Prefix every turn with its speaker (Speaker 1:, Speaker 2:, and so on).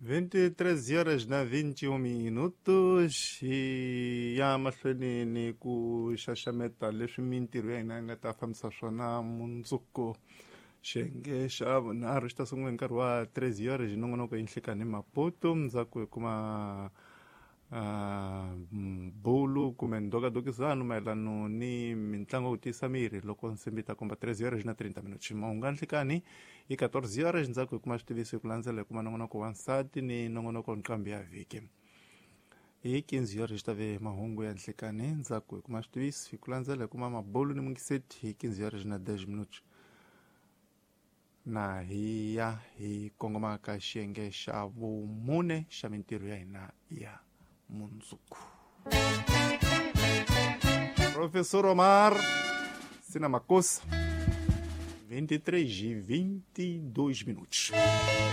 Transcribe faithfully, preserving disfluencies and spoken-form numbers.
Speaker 1: vinte e três horas na vinte e um minutos hi ya mahlweni ni ku xaxameta leswi mintirho ya hina yi nga ta fambisa swona mundzuku. Xiyenge xa vunharhu xi ta sungula hi nkarhi wa treze horas hi nongonoko Yinhlekani Maputo. Ndzhaku hi kuma uh, bulu kumbe ndokadokisano mayelano ni mitlangu ya ku tiyisa miri loko nsimbi ta komba treze horas na trinta minutos. Mahungu ya nhlikani hi catorze horas. Ndzhaku hi kuma switiviso, hi ku landzela hi kuma nongonoko wa nsati ni nongonoko nqambi ya vhiki. Hi quinze horas ta ve mahungu ya nhlikani. Ndzhaku hi kuma switiviso, hi ku landzela hi kuma mabulu ni mungiseti hi quinze horas na dez minutos, na hi ya hi kongoma ka xiyenge xa vumune xa mintirho ya hina ya mundzuku. Professor Omar Sina Makosa, vinte e três e vinte e dois minutos.